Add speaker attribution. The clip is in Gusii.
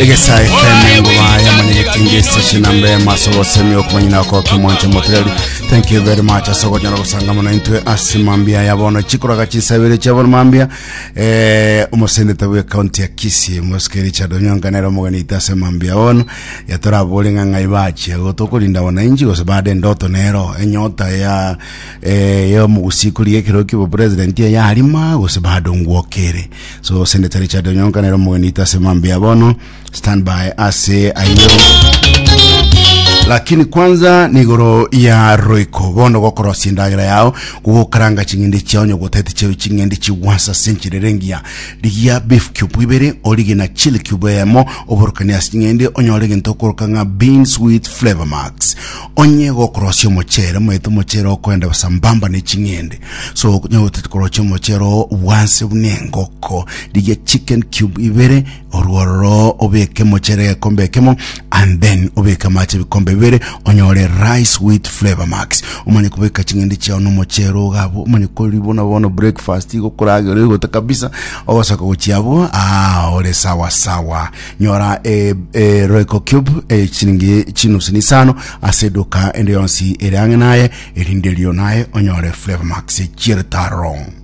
Speaker 1: Egesa FM engoba ya mwanyagetinge station namba ya maso gosemi okumanyina oko kimwanche motreli. Thank you very much ase okonyora gosanga mono intwe ase mambia ya bono chikoraga chinsabere chia bono mambia eh omoseneta bwe county ya Kisii Mosike Richard Onyonka nere omogeni ite ase mambia bono yatorabore ng'a ng'ai bachia gotokorinda wananchi gose bado endoto nero enyota ya eh ya omogusii korigia ekero kia obopresident eyarima gose bado ngwokere So Senator Richard Onyonka nere omogeni oito ase mambia bono stand by ase ayio lakini kwanza nigoro ya roiko bono gokorosia endagera yao gogokaranga ching'ende chiao onye gotete chiabe ching'ende chigwansa ase enchera ere engiya rigia beef cube ibere origie na chili cube eyemo oborokanie ase ching'ende onyore egento okoroka ng'a beans with flavor max onye gokorosia omochere omanyete omochere okoenda sambamba ne ching'ende So onye gotete korochia omochere oo bwanse buna engoko, rigia chicken cube ibere, orwo ororo obeke omochere egekombe ekemo, and then obeke amache ebikombe bibere, onyore rice with flavor max. Omanye kobeka ching'ende chiao na omochere ogo abwo, omanye koria buna bono breakfast igo okoragera oigote kabisa, ogosoka gochia abwo, ah ore sawa sawa. Nyora e, e Royco cube e chiringi chinusu na isano ase eduka ende yonsi ere ang'e naye, Erinde erio naye onyore Flavour Max chi'eritaro.